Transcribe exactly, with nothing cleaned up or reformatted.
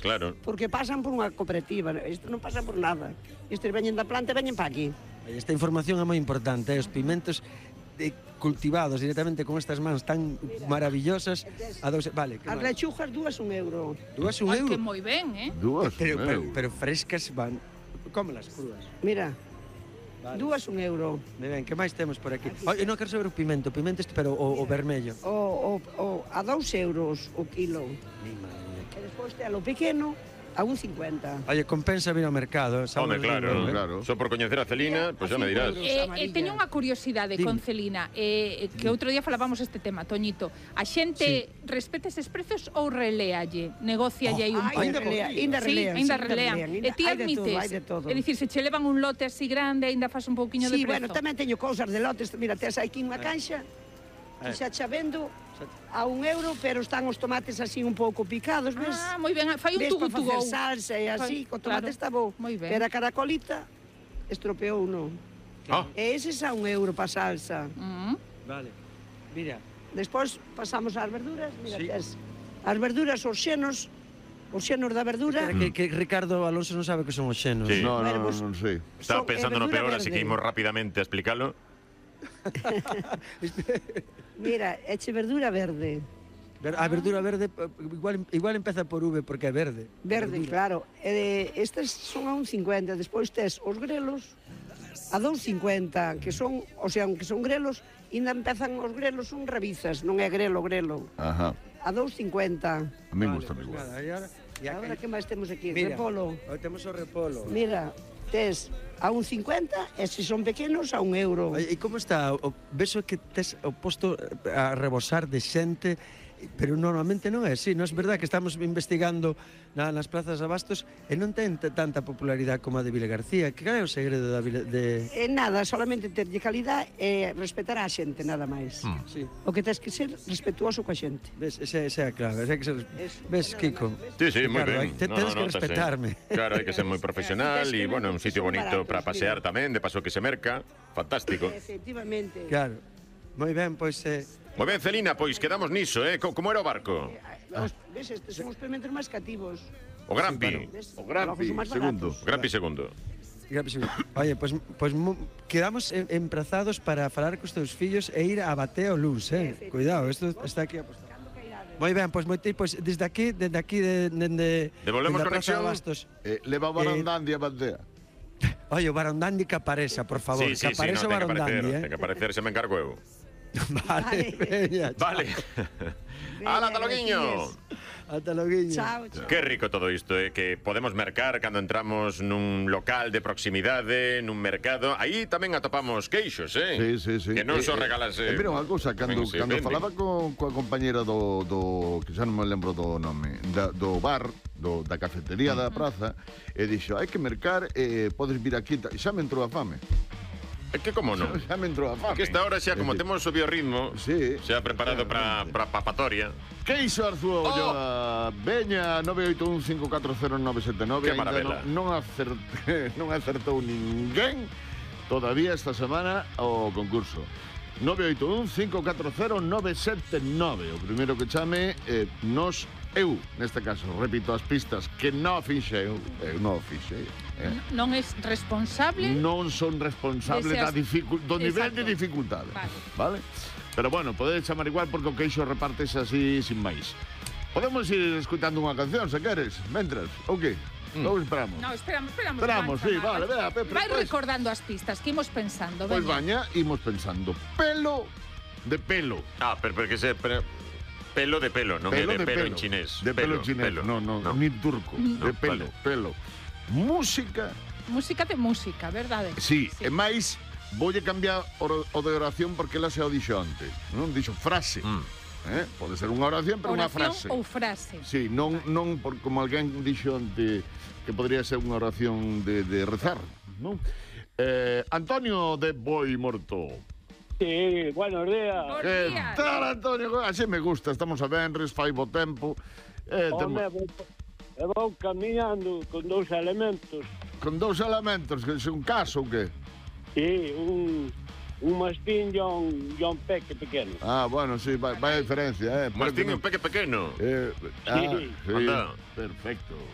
claro. Porque pasan por unha cooperativa, isto non pasa por nada. Estes veñen da planta e veñen para aquí. Esta información é moi importante, eh? Os pimentos de, cultivados directamente con estas mans tan maravillosas a dos... Vale, as lechugas dúas un euro. Dúas un Ai, euro? que moi ben, eh? Dúas Pero, un pero, euro. pero frescas van... Cómelas cruas. Mira, Vale. dúas un euro. Me ben, que máis temos por aquí? Oye, non quero saber o pimento, o pimento este, pero o, o vermello. O, o, o, a dous euros o kilo. Mi madre. E despois te a lo pequeno a un cincuenta. Oye, compensa vir ao mercado. Home, claro, eh? claro. Só por coñecer a Celina, pois pues xa me dirás. Eh, eh, teño unha curiosidade con Celina, eh, que outro día falábamos este tema, Toñito. A xente sí. respeta eses precios ou reléalle, negocialle aí Oh, un pouco? Ainda relea, ainda Sí, relean, ainda sí, relean. ainda E ti hai de todo, admites, hai de todo. é dicir, se che levan un lote así grande, ainda faz un pouquiño Sí, de prezo. bueno, tamén teño cousas de lotes. Mira, tes aquí unha caixa que xa xa vendo a un euro, pero están os tomates así un pouco picados, ves? Ah, moi ben, fai un ves tugu para tugu. facer salsa e así, co tomate claro. está bo. Moi ben. Pero a caracolita estropeou uno. Ah. E ese xa un euro para salsa. Mm. Vale. Mira, Despois pasamos ás verduras, mira, Sí. tes as verduras, os xenos, os xenos da verdura. que, que Ricardo Alonso non sabe que son os xenos. Sí. No, no, Bueno, no, pues- non sei. Estaba son- pensando é no verdura peor, así que verde. imos rapidamente a explicarlo. Mira, eche verdura verde. Ver- A verdura verde eh, igual, igual empeza por V porque é verde. Verde, claro. E de, estes son a un cincuenta. Despois tes os grelos a dous cincuenta, que son, o sea, aunque son grelos, ainda empezan os grelos, son rabizas, non é grelo, grelo. Ajá. A dous cincuenta. A mí gusta pues igual. nada, e ahora, e Agora aquí- que máis temos aquí? Mira, Repolo. oh, temos o repolo. Mira, tes a un cincuenta e se son pequenos a un euro. Oye, e como está? O, beso que tes o posto a rebosar de xente, pero normalmente non é así, non é verdad que estamos investigando na, nas plazas de abastos e non ten t- tanta popularidade como a de Vila García. Que cal é o segredo da Vila de... E nada, solamente terlle calidad e respetar a xente, nada máis. Mm. Sí. O que tens que ser respetuoso coa xente. Ves, esa, esa é a clave, esa é que ser... Eso, Ves, nada Kiko? máis, Sí, sí, moi Ricardo, ben. hai- te- tens que nótase. respetarme. Claro, hai que ser moi profesional Tens e, que bueno, ver un que sitio son bonito baratos, para pasear mira. tamén, de paso que se merca. Fantástico. Efectivamente. Claro. Moi ben, pois... Eh, Moi ben, Celina, pois quedamos niso, eh? Co- Como era o barco? Os, ves, estes son os pimentos máis cativos. O Grampi. Ves? O Grampi, Logo son máis segundo. baratos. O Grampi segundo. Oye, pois, pois mu- quedamos em- emprazados para falar cos teus fillos e ir a Bateo Luz, eh? Cuidado, isto está aquí apostado. Moi ben, pois moi pois desde aquí, desde aquí de de de Devolvemos dende a Praza conexión. de Bastos. Eh, leva Barandandi a bandea. Oye, o Barondandi que apareça, por favor, Sí, sí, que sí, apareça no, o ten que Barondandi, aparecer, eh. ten que aparecer, se me encargo eu. Vale, veña. Vale. Ala, ata loguiño. Ata loguiño. Chao, chao. Que rico todo isto, eh? Que podemos mercar cando entramos nun local de proximidade, nun mercado. Aí tamén atopamos queixos, eh? Sí, sí, sí. Que non Eh, son eh, regalas... eh, mira unha cousa, cando, tamén se cando venden. falaba co, coa compañera do, do que xa non me lembro do nome, da, do bar, do, da cafetería da praza, e dixo, hai que mercar, eh, podes vir aquí, ta- xa me entrou a fame. É que como non? Xa me entrou a fame. Que esta hora xa, como É que- temos o biorritmo, Sí. xa preparado para para papatoria. Queixo Arzúa Oh. Ulloa, veña nove oito un cinco catro cero nove sete nove. Que Aínda maravela. non, non, acerte, non acertou ninguén todavía esta semana o concurso. nove oito un cinco catro cero nove sete nove. O primeiro que chame eh, nos eu, neste caso, repito as pistas que non fixei, eu non fixei. Eh. Non é responsable. Non son responsable Ese da as- dificu do nivel Exacto. de dificultade. Vale. Vale? Pero bueno, podedes chamar igual porque o queixo repartese así sin máis. Podemos ir escutando unha canción, se queres, mentras, ou que? Mm. Ou esperamos? No, esperamos, esperamos. Esperamos, Juanza, sí, va, vale, vai- vea, Pepe, Vai pues. recordando as pistas que imos pensando, Pois veña. baña, imos pensando. Pelo de pelo. Ah, pero porque se... Pero, pelo de pelo, non Pelo é de, de pelo, pelo. en chinés. De pelo, chinés, no, no, no. ni turco. No, de pelo, vale. pelo. Música, Música de música, verdade? sí, e máis voulle cambiar o, o de oración porque ela se o dixo antes, non? Dixo frase. Mm. Eh? Pode ser unha oración, pero unha frase. Oración ou frase. Sí, non, non por, como alguén dixo antes que podría ser unha oración de, de rezar, non? Eh, Antonio de Boi Morto. Sí, buenos días. Buenos Que días. tal, Antonio? Así me gusta, estamos a Benres, fai bo tempo. Eh, temo, Home, vou, eu vou camiñando con dous elementos. con dous elementos, que é un caso ou que? Sí, un, un mastín e un, e un peque pequeno. Ah, bueno, sí, vai, vai a diferencia, eh. Mas Porque tiño non- un peque pequeno. Eh, ah, Sí. sí, Anda. perfecto.